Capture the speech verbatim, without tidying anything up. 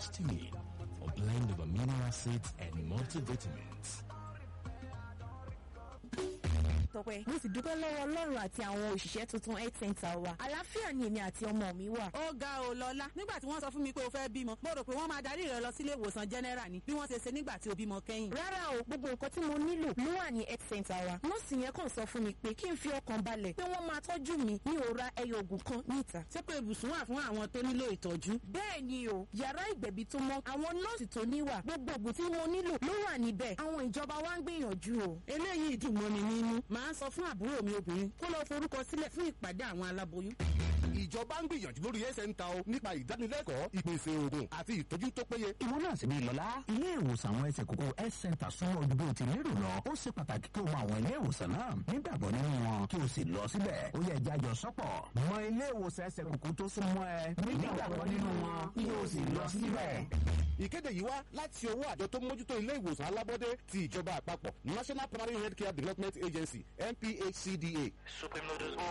Histamine, a blend of amino acids and multivitamins. Tọpẹ́, mo sì dúpẹ́ lọ́wọ́ Ọlọ́run àti àwọn òṣìṣẹ́ tuntun health center wa. Àlàáfíà ni èmi àti ọmọ mi wà. Ó ga ò lọ́lá. Nígbà tí wọ́n sọ fún mi pé o fẹ́ bímọ, mo rò pé wọ́n máa darí rẹ lọ sílé ìwòsàn general ni bí wọ́n ṣe ṣe nígbà tí o bímọ kẹ́yìn. Rárá o, gbogbo nǹkan tí mo nílò ló wà ní health center wa. Nọ́ọ̀sì yẹn kàn sọ fún mi pé kí n fi ọkàn balẹ̀ pé wọ́n máa tọ́jú mi, mi ò ra ẹyọ oògùn kan níta. Ṣé pé ibùsùn wà fún àwọn tó nílò ìtọ́jú? Bẹ́ẹ̀ ni o, yàrá ìgbẹ̀bí tó mọ́, àwọn nọ́ọ̀sì tó níwà, gbogbo oògùn tí mo nílò ló wà níbẹ̀. Àwọn ìjọba wa ń gbìyànjú o. Eléyìí dùn mọ́ mi nínú. Màá sọ fún àbúrò mi obìnrin kó lọ forúkọ sílẹ̀ fún ìpàdé àwọn aláboyún. Ìjọba ń gbìyànjú lórí ẹsẹ̀ ń ta o nípa ìdánilẹ́kọ̀ọ́, ìpèsè oògùn àti ìtọ́jú tó péye. Ìwọ náà sì ní lọ́lá. Ilé ìwòsàn àwọn ẹsẹ̀ kókó health center súnmọ́ ojú bó ti lérò lọ. Ó ṣe pàtàkì kí o mọ àwọn ilé ìwòsàn náà, nígbàgbọ́ nínú wọn, kí o sì lọ síbẹ̀. Ó yẹ jájọ sọ́pọ̀. Mọ ilé ìwòsàn ẹsẹ̀ kókó tó súnmọ́ ẹ, nígbàgbọ́ nínú wọn, kí o sì lọ síbẹ̀. Ìkéde yìí wá láti ọwọ́ àjọ tó mójútó ilé ìwòsàn alábọ́dé ti ìjọba àpapọ̀, National Primary Healthcare Development Agency, N P H C D A. Supreme Noodles.